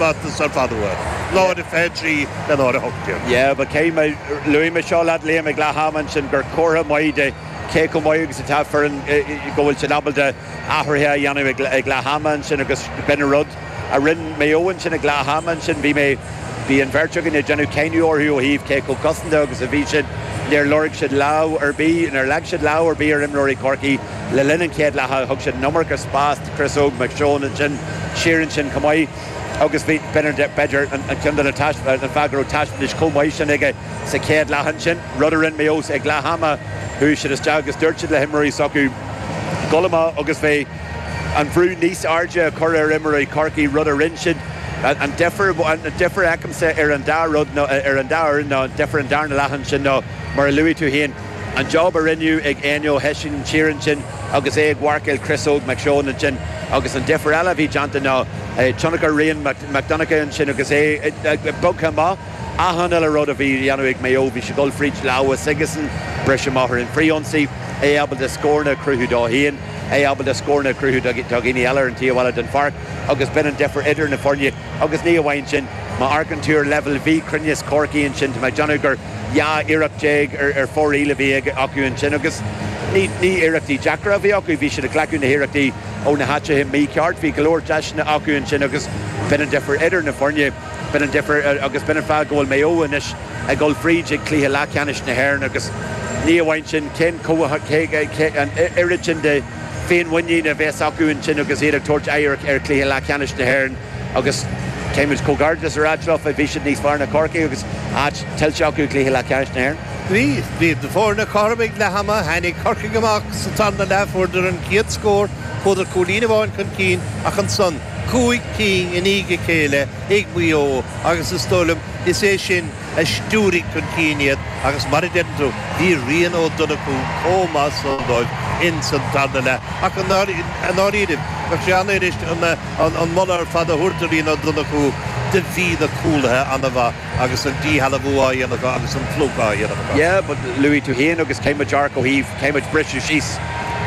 taispeántas ar fad uathu. 0-23 le 0-18. Yeah, but cé mé, luaigh mé seo leat Liam ag leath ama ansin gur comhartha maith de cé chomh maith agus atá foireann go bhfuil siad ábalta athruithe a dhéanamh ag leath ama ansin agus b'in an rud a rinne Maigh Eo ansin ag leath ama ansin. Bhí mé, bhí an bheirt againn ag déanamh cáineadh orthu ó thaobh cé chomh cosanta agus a bhí siad. Níor lorg siad lámh ar bith, níor leag siad lámh ar bith ar imreoirí Chorcaí le linn an chéad leatha. Thug siad an iomarca spás do Chris Óg McShane ansin, siar ansin chomh maith agus bhí, b'fhéidir, an ceann de na, an fáth go raibh taispeántas chomh maith sin aige sa chéad leath ansin. Rud a rinne Maigh Eo ag leath ama, chuaigh siad isteach agus dúirt siad le himreoirí s'acu dul amach agus bheith an bhrú níos airde a chur ar imreoirí Chorcaí, rud a rinne siad. An difear, an difear a fheicimse ar an dá rud ná, ar an dá fhoireann ná an difear an darna leath ansin ná, mar a luaigh tú féin, an job a rinneadh ag Áine Ó hOisín siar ansin agus é ag mharcáil Chris Óg McShane ansin agus an difear eile a bhí déanta ná tionchar Rian Mac Donncha ansin agus é bogtha amach. Achan uile rud a bhí á dhéanamh ag Maigh Eo, bhí sé ag dul fríd lámha s'aigesan, briseadh amach ar an bhfrithionsaí, é ábalta scóranna a chruthú dó féin, é ábalta scóranna a chruthú do dhaoine eile ar an taobh eile den pháirc agus b'in an difear idir na foirne. Agus ní amháin sin, má amharcann tú ar leibhéal mhíchruinneas Chorcaí ansin, tá mé ag déanamh gur 12 iarracht ar fóraoil a bhí acu ansin agus ní iarrachtaí deacra a bhí acu, bhí siad ag glacadh na hiarrachtaí ó na háiteacha mícheart, bhí go leor deiseanna acu ansin agus b'in an difear idir na foirne. B'in an difear agus b'in an fáth go bhfuil Maigh Eo anois ag dul fríd ag cluiche leathcheannais na hÉireann agus ní amháin sin, cén cé an oiread sin de féinmhuinín a bheas acu ansin agus iad ag tabhairt aghaidh ar chluiche leathcheannais na hÉireann agus caithfidh muid comhghairdeas a ráit leo, bhí siad níos fearr ná Corcaigh agus áit tuillte acu i gcluiche leathcheannais na hÉireann. Bhí, bhí na foirne cothrom ag leath ama, tháinig Corcaigh amach sa tarna leath, fuaireadar an chéad scór, chuadar cúilín amháin chun cinn ach ansan, 5 cinn i ndiaidh a chéile ag Maigh Eo agus is dóigh liom is é sin a stiúraigh chun cinn iad agus mar a deireann tú, bhí Rian Ó Donnchú chomh maith san dóibh ins an tarna leath. Ach i ndáiríribh, bheadh sé an-fhuirist an moladh ar fad a thabhairt do Rian Ó Donnchú, do bhí na cúlaithe an-mhaith agus an díshealbhú á dhéanamh acu agus an phlúchadh á dhéanamh acu. Yeah, but luaigh tú féin agus caithfidh muid amharc ó thaobh, caithfidh muid briseadh síos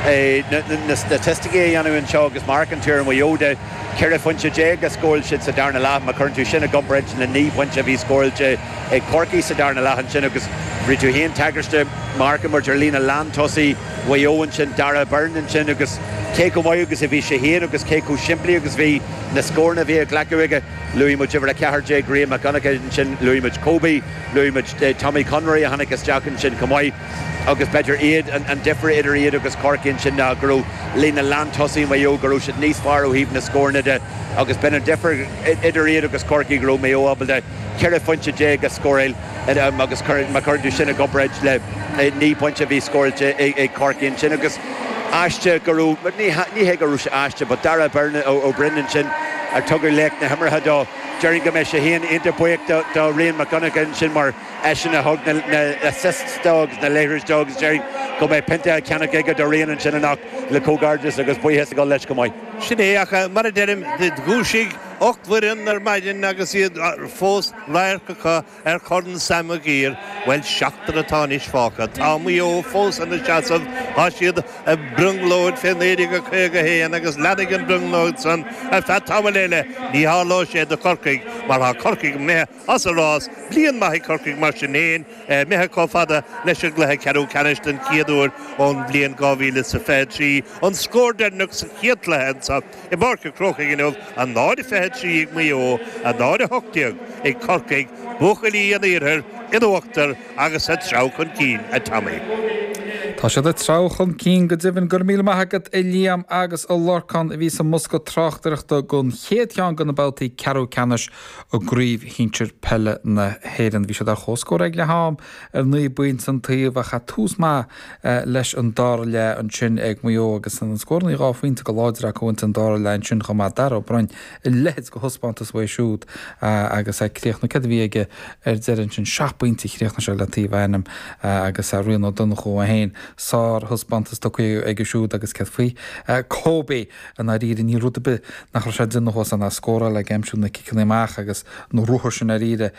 na staitisticí a dhéanamh anseo agus má amharcann tú ar Mhaigh Eo de, 14 phointe a scóráil siad sa darna leath, má chuireann tú sin i gcomparáid le 9 bpointe a bhí scóráilte ag Corcaigh sa darna leath ansin agus rinne tú féin tagairt de, má amharcann muid ar líne lántosaí Mhaigh Eo ansin, Darragh Beirne ansin agus cé chomh maith agus a bhí sé féin agus cé chomh simplí agus bhí na scóranna a bhí á ghlacadh aige. Luaigh muid uimhir 14, Rian Mac Donncha ansin, luaigh muid Kobe, luaigh muid Tommy Conroy a tháinig isteach ansin chomh maith agus b'fhéidir iad, an difear idir iad agus Corcaigh ansin ná go raibh líne lántosaí Mhaigh Eo, go raibh siad níos fearr ó thaobh na scóranna de agus b'in an difear idir iad agus Corcaigh, go raibh Maigh Eo ábalta 14 phointe a scóráil agus má chuireann tú sin i gcomparáid le 9 bpointe a bhí scóráilte ag Corcaigh ansin agus aisteach go raibh, ní hé go raibh sé aisteach but Darragh Byrne, Ó Broin ansin ar tugadh laoch na himeartha dó, déarfainn go mbeidh sé féin iontach buíoch do Rian Mac Donncha ansin mar eisean a thug na assists dó agus na liathróidí dó agus déarfainn go mbeidh pionta á cheannach aige do Rian ansin anocht le comhghairdeas agus buíochas a dhul leis chomh maith. Sin é, ach mar a deirim, dhúisigh 8 bhfoireann ar maidin agus iad fós radharc acu ar Chorn Sam Maguire. Bhuel, seachtar atá anois fágtha. Tá Maigh Eo fós ina seasamh. Tá siad i mbrionglóid fé 1951 agus leanfaidh an bhrionglóid san ar feadh tamaill eile. Ní tharlóidh sé do Chorcaigh mar tá Corcaigh imithe as an rás. Bliain maith ag Corcaigh mar sin fhéin, imithe chomh fada leis an gcluiche ceathrú ceannais den chéad uair ón bhliain 2023. An scór deireanach sa chéad chluiche anseo i bPáirc an Chrócaigh inniu, 0-23 ag Maigh Eo, 0-18 ag Corcaigh, buachaillí an iarthair in uachtar agus ag treabhadh chun cinn, a Tommy. Tá siad ag treabhadh chun cinn go deimhin. Go raibh míle maith agat a Liam agus a Lorcán a bhí sa mbosca tráchtaireachta don chéad cheann de na babhtaí ceathrú ceannais i gCraobh Shinsir Peile na hÉireann. Bhí siad ar comhscór ag leath am ar 9 bpointe an taobh ach tús maith leis an dara leath ansin ag Maigh Eo agus na scóranna 2 phointe go láidir acu ins an dara leath ansin chomh maith. Darragh Ó Broin, a leithéid de thaispeántas uaidh siúd agus é ag críochnú, céard a bhí aige ar deireadh ansin, 7 bpointe a chríochnaigh sé le taobh a ainm agus Rian Ó Donnchú é féin. Sárthaispeántas tugtha aige siúd agus céard faoi Kobe i ndáiríre, níl rud ar bith nach raibh sé ag déanamh thuas ann ach scóráil ag aimsiú na ciceanna amach agus na ruathair sin i ndáiríre,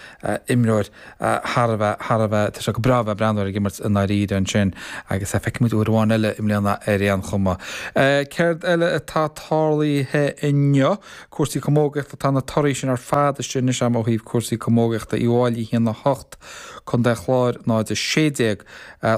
imreoir thar a bheith, thar a bheith, tá sé go breá a bheith ag breathnú air ag imirt i ndáiríre ansin agus feicfidh muid uair amháin eile i mbliana ar aon chuma. Céard eile atá tarlaithe inniu? Cúrsaí camógaíochta, tá na torthaí sin ar fad istigh anois agam ó thaobh cúrsaí camógaíochta, Uíbh Fhailí 1, 8, Contae an Chláir 0, 16,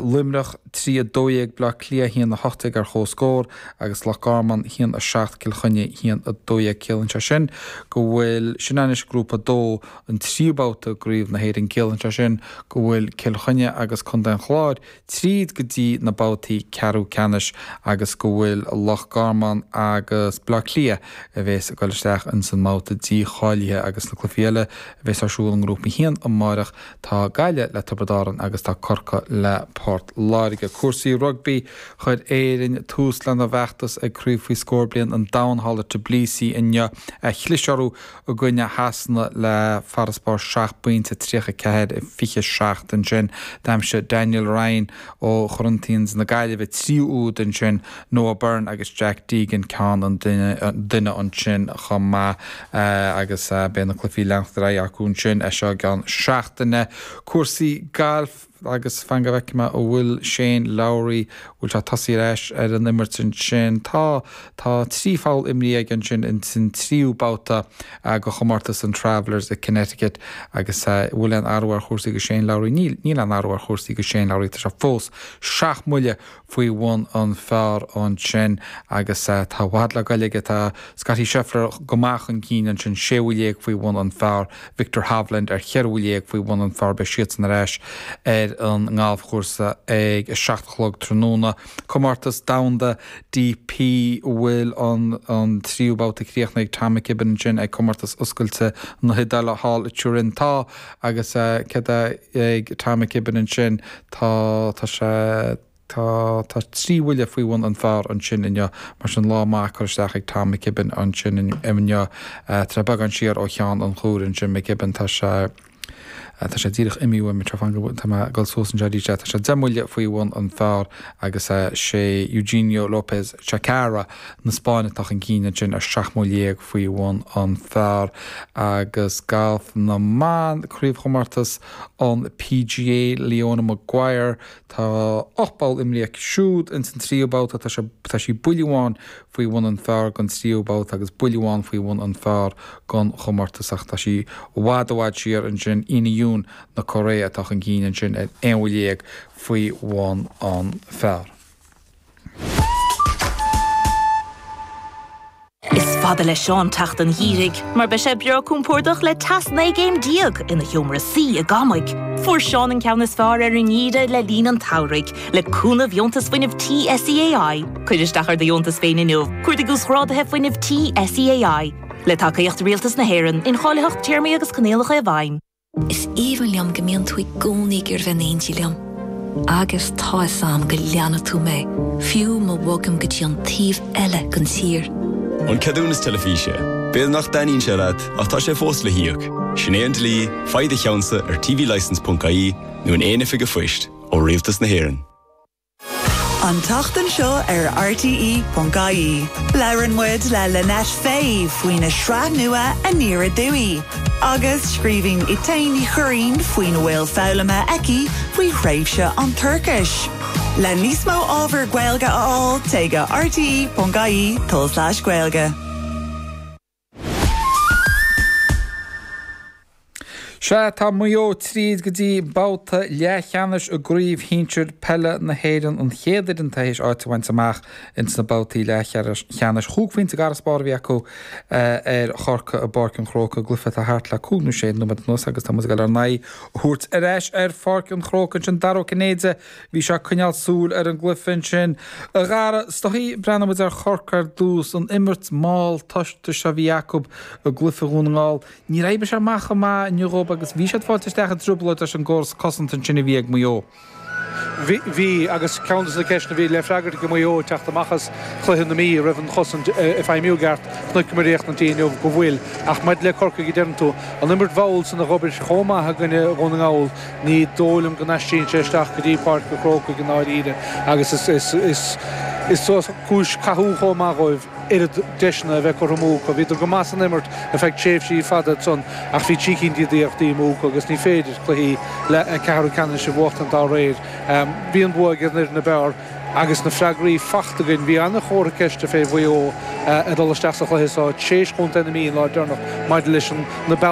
Luimneach 3, 12, Bleá Cliath 1, 18 ar comhscór agus Loch Garman 1, 7, Cill Chainnigh 1, 12. Ciallaíonn sé sin go bhfuil, sin anois Grúpa 2, an tríú babhta i gCraobh na hÉireann. Ciallaíonn sé sin go bhfuil Cill Chainnigh agus Contae an Chláir tríd go dtí na babhtaí ceathrú ceannais agus go bhfuil Loch Garman agus Bleá Cliath a bhéas ag dul isteach ins an mbabhta dícháilithe agus na cluichí eile a bhéas ar siúl i nGrúpa 1 amáireach tá Gaillimh le Tiobraid Árann agus tá Corcaigh le Port Láirge. Cúrsaí Rugbaí Chuir Éirinn tús lena bhfeachtas ag Craobh Faoi Scór Bliain an Domhain thall i Tbilisi inniu. Chlis orthu i gcoinne Shasana le farasbarr 7 bpointe, 34, 27 ansin. D'aimsigh Daniel Ryan ó Corinthians na Gaillimhe tríú úd ansin, Noah Byrne agus Jack Deegan ceann an duine ansin chomh maith agus beidh na cluichí ag leanacht ar aghaidh acu ansin as seo i gceann seachtaine. Cúrsaí gailf. Agus fan go bhfeicfidh mé an bhfuil Shane Lowry, bhfuil sé tosaithe ar ais ar an imirt ansin. Tá, tá 3 pholl imrithe aige ansin ins an tríú babhta de chomórtas an Travelers i Connecticut agus an bhfuil aon athrú ar chúrsaí do Shane Lowry? Níl, níl aon athrú ar chúrsaí do Shane Lowry, tá sé fós 7 mbuille faoi bhun an phar ansin agus tá i bhfad le goil aige. Tá Scottie Scheffler go maith chun cinn ansin, 16 bhuille faoi bhun an phar, Viktor Hovland ar cheithre bhuille faoi bhun an phar. Beidh siadsan ar ais ar an ngalfchúrsa ag a 7 a chlog tráthnóna. Comórtas Domhanda DP bhfuil an tríú babhta críochnaithe ag Tom McKibbin ansin ag Comórtas Oscailte na hIodáile thall i Turin. Tá agus céard é ag Tom McKibbin ansin? Tá, tá sé, tá, tá 3 bhuille faoi bhun an phar ansin inniu, mar sin lá maith curtha isteach ag Tom McKibbin ansin inniu. Tá sé beagán siar ó cheann an chuair ansin, McKibbin, tá sé, tá sé díreach imithe uaim anseo, fan go, tá mé ag dul suas anseo arís, tá sé 10 mbuille faoi bhun an phar agus sé Eugenio Lopez Chacarra na Spáinne atá chun cinn ansin ar 17 mbuille faoi bhun an phar agus galf na mban, craobhchomórtas an PGA, Leona Maguire. Tá 8 bpoll imrithe aici siúd ins an tríú babhta. Tá sé, tá sí buille amháin faoi bhun an phar don tríú babhta agus buille amháin faoi bhun an phar don chomórtas ach tá sí i bhfad i bhfad siar ansin. Ina Yoon na Cóiré atá chun cinn ansin ar aon bhuille faoi bhun an phar. Is fada le Seán teacht an gheimhridh, mar beidh sé breá compordach le teas 19 gcéim ina sheomra suí i gCamaigh. Fuair Seán an ceann is fearr ar an ngeimhreadh le linn an tsamhraidh, le cúnamh Dheontas Fuinnimh Tí SEAI. Cuir isteach ar do dheontas féin inniu, cuardaigh Uasghráduithe Fuinnimh Tí SEAI. Le tacaíocht Rialtas na hÉireann, incháilitheacht, téarmaí agus coinníollacha i bhfeidhm. Is aoibhinn liom go mbíonn tú i gcónaí ag iarraidh bheith in éindí liom. Agus tá 'fhios a'm go leanfaidh tú mé, fiú má bhogaim go dtí an taobh eile den tír. An ceadúnas teilifíse. B'fhéidir nach dtaitníonn sé leat, ach tá sé fós le híoc. Sin é an dlí, faigh do cheannsa ar tvlicence.ie nó in aon oifig an phoist, ó Rialtas na hÉireann. An tseachtain seo ar RTÉ.ie, labhrann muid le Lynette Fay faoina sraith nua Aniar Aduaidh, agus scríobhann Etain Ní Churraoin faoina bhfuil foghlamtha aici faoi thréimhse an toirchis. Le níos mó ábhar Gaeilge a fháil, téigh go rte.ie tulslais Gaeilge. Sea, tá Maigh Eo tríd go dtí babhta leathcheannais i gCraobh Shinsir Peile na hÉireann, an chéad fhoireann atá théis áit a bhaint amach ins na babhtaí leathcheannais. Chúig phointe d'fharasbarr a bhí acu ar Chorcaigh i bPáirc an Chrócaigh, i gcluiche atá thart le cúig nó sé nóiméad anuas agus tá muid ag dul ár n-aghaidh a thabhairt ar ais ar Pháirc an Chrócaigh ansin. Dara Ó Cinnéide, bhí sé ag coinneáil súil ar an gcluiche ansin. A Dhara, is dóichí, breathnóidh muid ar Chorcaigh ar dtús, an imirt mhall tosta seo a bhí acu i gcluiche Dhún na nGall. Níor oibrigh sé amach chomh maith inniu dhóibh agus bhí siad fáilte isteach i dtrioblóid leis an gcóras cosanta ansin a bhí ag Maigh Eo. Bhí, agus ceann de na ceisteanna a bhí le freagairt ag Maigh Eo ag teacht amach as cluiche na Mí, raibh an chosaint ag feidhmiú i gceart, chonaiceamar ar an tí inniu go bhfuil. Ach maidir le Corcaigh, a deireann tú, an imirt mhall san a dh'obair chomh maith i gcoinne Dhún na nGall, ní dóigh liom go n-aistríonn sé isteach go dtí Páirc an Chrócaigh i ndáiríre agus is is cúis cathú chomh maith dhóibh oiread deiseanna a bheith curtha amú acu. Bhíodar go maith san imirt ar feadh tréimhsí fada ansan ach bhí trí cinn d'iarrachtaí amú acu agus ní féidir cluichí ceathrú ceannais a bhuachtaint dá réir. Bhí an bua ag an fhoireann ab fhearr agus na freagraí fachta againn. Bhí an-chomhartha ceiste fé Mhaigh Eo ag dul isteach sa chluiche seo tréis chontae na Mí an lá deireanach maidir leis na bealaí.